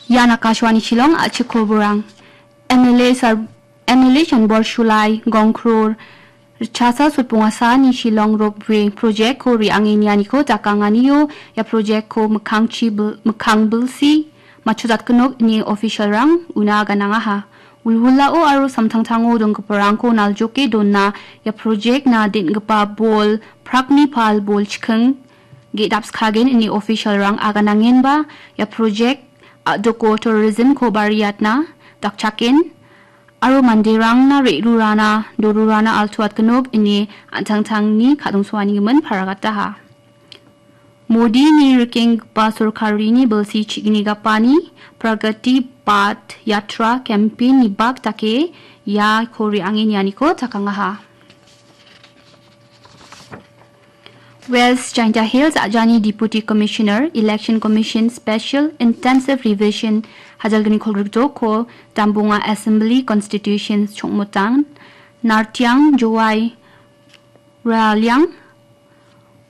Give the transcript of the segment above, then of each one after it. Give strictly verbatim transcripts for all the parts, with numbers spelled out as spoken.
Ian Akashvani Shillong, a·chik koborang. M L A sar-, M L A Chanbor Shulai, Gongkror, Richasa Sutpungasani Shillong Ropeway project-ko re·ange nianiko dakanganio ia project-ko mikkangchi bil-, mikkang bilsi matchotjatgenok ine official-rang una ganangaha. Wilwilao aro samtangtango donggiparangko naljoke dona ia project-na den·gipa bol, prakni pal bol chiking ge·dapskagen ine official-rang aganangenba ia project a·doko tourism-ko bariatna dakchaken aro manderangna re·rurana, dorurana altuatgenok ine an·tangtangni kadongsoanigimin paragataha. Modini rikenggipa sorkarini bilsi chigni gapani Pragati Path Yatra campaign-ni bak dake iako re·ange nianiko dakangaha. West Jaintia Hills a·jani Deputy Commissioner, Election Commission Special Intensive Revision hajalgni kolgrikdoko Dambunga Assembly Constitution chongmotang Nartiang Jowai Raliang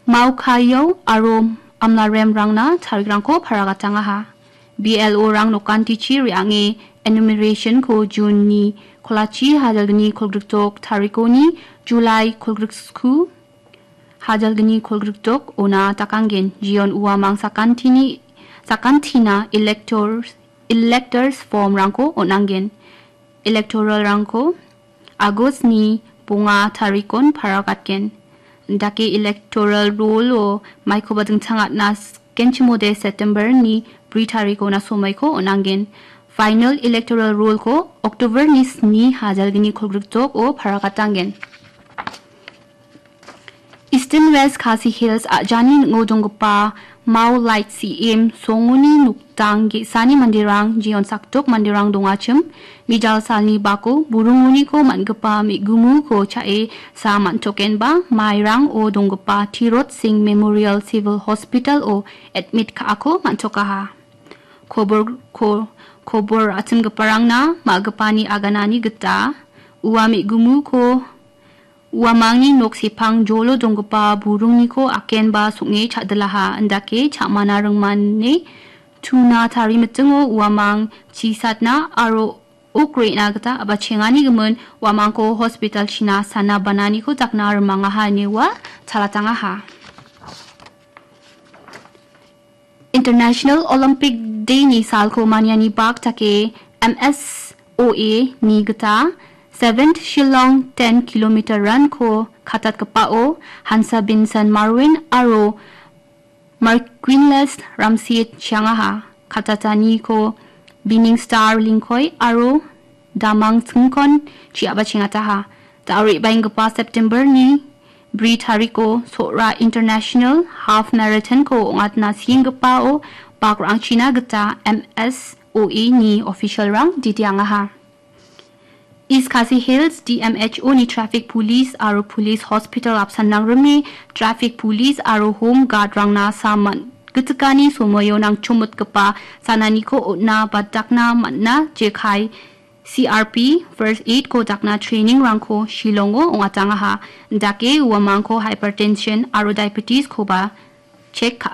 Maukayao aro Amlaremrangna tarikrangko paragatangaha. B L O-rang nokantichi re·ange enumeration-ko June-ni kolachi hajalgni kolgrikdok tarikoni July kolgriksku hajalgni kolgrikdok ona dakanggen. Jion uamang sakantini, sakantina electors, electors form-rangko on·angen. Electoral-rangko August-ni bonga tarikon paragatgen. Dake electoral roll-o maikoba dingtangatna skenchimode September-ni bri tarikona somoiko on·angen. Final electoral roll-ko October-ni sni hajalgni kolgrikdok-o paragatanggen. Eastern West Khasi Hills a·jani ning·o donggipa Mao Light C M songoni noktang ge·sani manderang, jeon sakdok manderang dongachim, mijal salni bako burungoniko man·gipa me·gumuko cha·e sa man·tokenba, Mairang-o donggipa Tirot Singh Memorial Civil Hospital-o admit ka·ako man·tokaha. Kobor-, ko-, kobor a·chimgiparangna ma·gipani aganani gita ua me·gumuko uamangni nok sepang jolo donggipa burungniko akenba song·e cha·dilaha, indake cha·mana ringmane tuna tarimitingo uamang chisatna aro ok re·na gita a·bachengani gimin uamangko hospital-china sana bananiko dakna rimangaha ine ua chalatangaha. International Olympic Day-ni salko maniani bak dake M S O A-ni gita seventh Shillong ten kilometer run-ko katatgipao Hansa Vincent Marwin aro Marquinles Ramsit chiangaha. Katataniko Bining Star Lingkoi aro Damang Singkon chi·aba chengataha. Da·o re·baenggipa September-ni bri tariko Sohra International Half Marathon-ko ong·atna sienggipao bakrangchina gita M S O A-ni official-rang ditiangaha. East Khasi Hills D M H O-ni traffic police aro police hospital apsan nangrime traffic police aro home guard-rangna saman gitikani somoio nangchomotgipa sananiko on·na ba dakna man·na jekai C R P, first aid-ko dakna training-rangko Shillong-o ong·atangaha. Dake uamangko hypertension aro diabetes-koba check ka·a.